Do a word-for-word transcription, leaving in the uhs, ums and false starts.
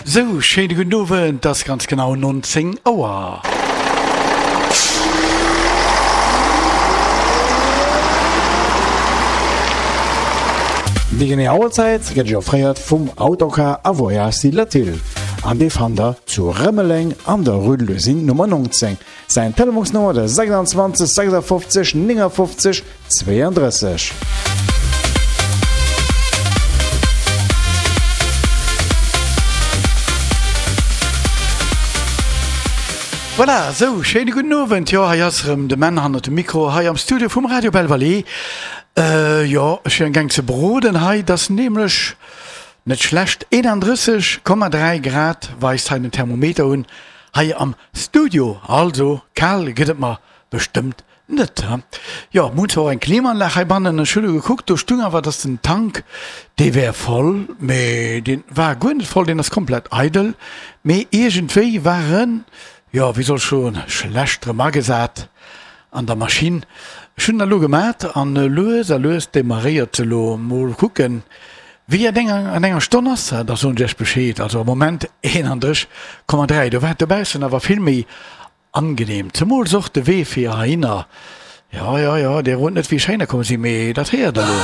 Sou, schéine gudden Owend, et ass ganz genau nonzéng Auer. Déi genee Auerzäit gëtt Iech offréiert vum Autocar a Voyages Latil an dee fannt der zu Rëmeleng an der Rue de l'Usine Nummer nonzéng. Säin Telefonsnummer de sechsundzwanzeg sechsundfofzeg néngundfofzeg zweeëndrësseg. Voilà, sou, schéine gudden Owend. Jo, hei ass erëm de Menn hannert dem Mikro hei am Studio vum Radio Belle Vallée. Jo, ech wier amgaang ze broden hei, et ass nämlech net schlecht, eenandrësseg Komma dräi Grad weist hei den Thermometer un hei am Studio. Also, kal gëtt et mer bestëmmt net, he? Jo, mir hunn zwar och eng Klimaanlag heibannen, ech hunn elo gekuckt, do stung awer, dass den Tank, dee wär voll, mee dee war guer net voll, deen ass komplett eidel, mee iergendwéi war en, jo, wéi soll ech soen, schlecht erëm agesat an der Maschinn. Ech hunn dat elo gemat an lues a lues demarréiert se elo. Mol kucken, wéi et an enger Stonn ass, da soen ech iech Bescheed. Also am Moment eenandrësseg Komma dräi, do war et dobaussen awer vill méi Angenehm, zemools och de Wee fir heihinner. Jo, jo, jo, dir rot net wéi ech heihinner komm sinn, mee dat héiert der elo.